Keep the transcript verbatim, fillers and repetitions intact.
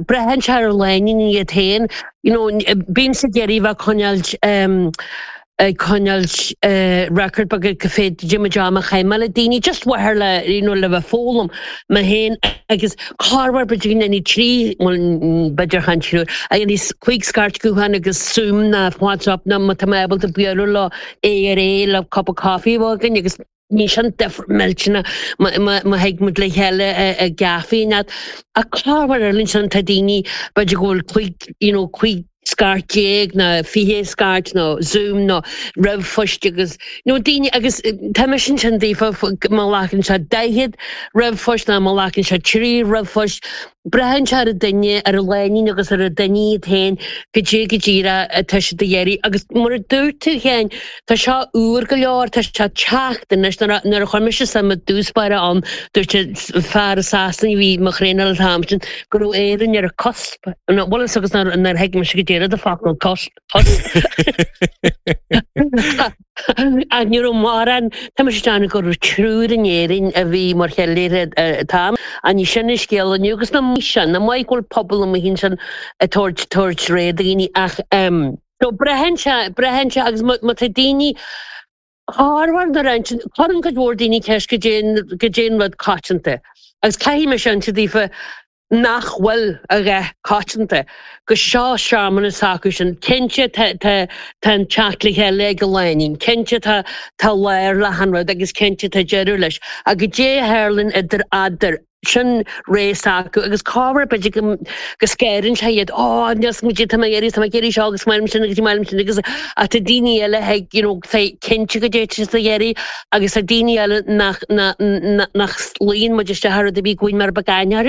Braitheann sé ar lánúin iad féin, you know, bímse ag iarraidh bheith coinneáil ag coinneáil record beag go féad Jim am a chaith mé le daoine just mhaithe le you know, le bheith foghlaim mé féin agus corruair b'fhéidir go ndéanfaidh trí bhuel b'fhéidir chan triúr a dhéanfaidh cúig scairt gutháin agus Zoom ná WhatsApp ná má tá mé ábalta bualadh leo aghaidh ar aghaidh le cup of coffee a bheith againn agus ní sin difear millteanach má thig muid le chéile i gcaife nó ach corruair eile ansin tá daoine b'fhéidir go bhfuil cúig you know, cúig scairt déag nó fiche scairt nó Zoom nó ríomhphost agus nó daoine agus tá mise ansin daofa má ghlacann sé daichead ríomhphost nó má ghlacann sé trí ríomhphost braitheann sé ar an duine ar an lánúin agus ar an duine iad féin goidé go díreach atá siad a iarraidh agus mar a dúirt tú féin tá seo úr go leor tá sé ag teacht anois nuair a nuair a chuir mise suim i dtús báire ann dúirt fear i Sasana a bhí mo thraenáil an t-am sin go raibh Éirinn ar an cusp bhuel is agus nuair nuair thuig mise go deireadh de focal cusp Ach ní raibh mórán tá mise ag déanamh go raibh triúr in Éirinn a bhí mar cheiliúradh an t-am ach ní sin an scéal inniu agus nach maith sin nach maith go bhfuil pobal amuigh ansin ag tabhairt tabhairt ré daoine ach so braitheann sé braitheann sé agus má má tá daoine corruair nuair a cuireann cuid mhór daoine ceist goidé goidé an rud coitianta agus caithfidh mise inse daofa nach bhfuil a dhath coitianta go seo searmanas acu sin cinnte tá tá tá an teacht le chéile ag an lánúin cinnte tá tá lár le han rud agus cinnte tá deireadh leis ach goidé a tharlaíonn idir eadar sin ré s'acu agus corruair b'fhéidir go go scanraíonn sé iad ó níos muid tá mé ag iarraidh tá mé ag iarraidh seo agus maith liom sin agus maith liom sin agus ach tá daoine eile ag you know tá cinnte goidé tá siad ag iarraidh agus tá daoine eile nach nach nach luíonn muid isteach ar rud a bhí go bhfuil mar beag aithne orthu.